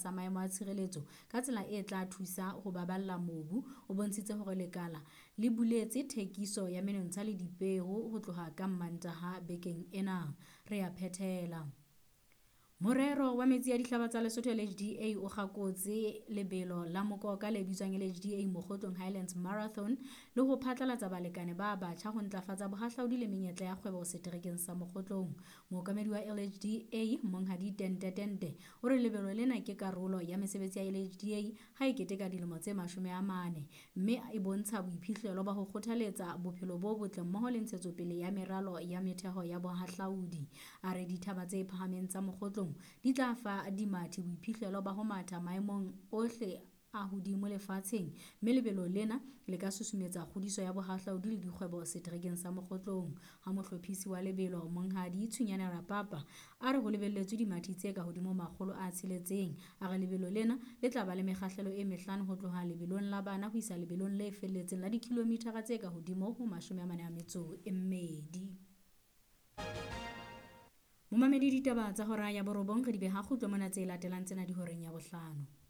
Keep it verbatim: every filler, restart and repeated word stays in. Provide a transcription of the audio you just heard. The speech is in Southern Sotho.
tlasa maemo a tshireletso ka tsela e tla thusa ho baballa mobu. O bontshitse hore lekala le buletse thekiso ya menontsha le dipeo ho tloha ka Mmantaha bekeng ena. Re a phethela. Morero wa metsi a dihlaba tsa Lesotho L H D A o kgakotse lebelo la mokoka le bitswang L H D A Mokgotlong Highlands Marathon le ho phatlalatsa balekane ba batjha ho ntlafatsa bohahlaudi le menyetla ya kgwebo seterekeng sa Mokgotlong. Mookamedi wa L H D A Monghadi Tente Tente o re lebelo lena ke karolo ya mesebetsi ya L H D A ha e keteka dilemo tse mashome a mane, mme e bontsha boiphihlelo ba ho kgothaletsa bophelo bo botle mmoho le ntshetsopele ya meralo ya metheho ya bohahlaudi. A re dithaba tse phahameng tsa Mokgotlong di tla fa dimathi boiphihlelo ba ho matha maemong ohle a hodimo lefatsheng, mme lebelo lena le ka susumetsa kgodiso ya bohahlaudi le dikgwebo seterekeng sa Mokgotlong. Ha mohlophisi wa lebelo Monghadi Tshunyane Rapapa a re ho lebelletswe dimathi tse ka hodimo makgolo a tsheletseng. A re lebelo lena le tla ba le mekgahlelo e mehlano ho tloha lebelong la bana ho isa lebelong le felletseng la dikilomithara tse ka hodimo ho mashome a mane a metso e mmedi. Momamedi, ditaba tsa hora ya borobong re di beha kgutlo mona, tse latelang tsena di horeng ya bohlano.